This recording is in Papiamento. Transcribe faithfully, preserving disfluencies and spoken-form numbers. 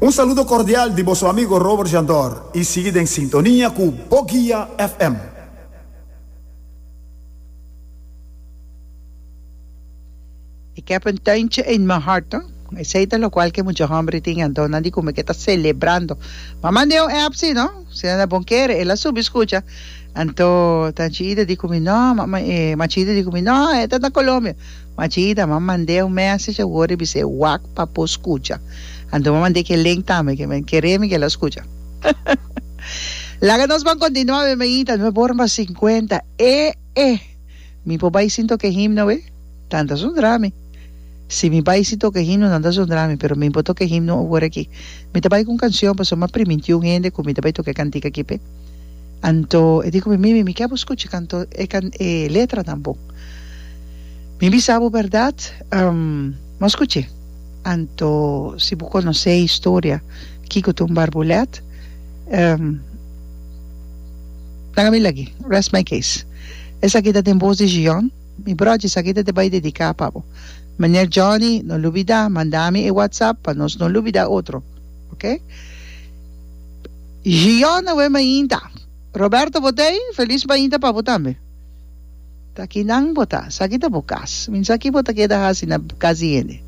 Un saludo cordial di boso amigo Robert Jandor y sigui den sintonia cu Boguia F M. Ik heb een tuintje in mijn hart, no? Esey ta locual cu e mucha homber tin, anto nan di cu mi ke ta celebrando. Ma mande un app si, no? Si nan ta bon kere, el a subi scucha. Anto Tanchi Ida di cu mi, no, ma, ma, eh, Machi Ida di cu mi, no, e ta na Colombia. Machi Ida, m'a mand'é un message awor i bis'é wak pa por scucha. Anto m'a mand'é ke link tambe, ke men kere mi ke el a scucha. Laga nos ban continua, bienvenida, nuebe ora mas cincuenta. E, e, mi por bai sin toca e himno, we? Nan ta zundra mi. Si mi bai sin toca e himno, nan ta zundra mi, pero mi por toca e himno awor aki. Mi ta bai cu un cancion, pasobra m'a priminti un hende cu mi ta bai toca e cantica aki p'e. Anto e di ku mi, Mimi, mi ke bo skucha kanto e kan e letranan bon. Mi bisa bo bèrdat, bo a skuch'é. Anto si bo konosé e historia kiko ta un barbulèt, laga mi lag'é. Rest my case. Esaki ta den bos di Gion. Mi bròchi, esaki ta te bai dediká pa bo. Meneer Johnny, no lubidá, manda mi e WhatsApp pa nos no lubidá otro. Oke? Gion awe mainta. Roberto bo ta ei? Felis mainta pa bo tambe. Ta kinan bo ta? Sa ki ta bo kas? Min sa ki bo ta keda hasi na kas di hende.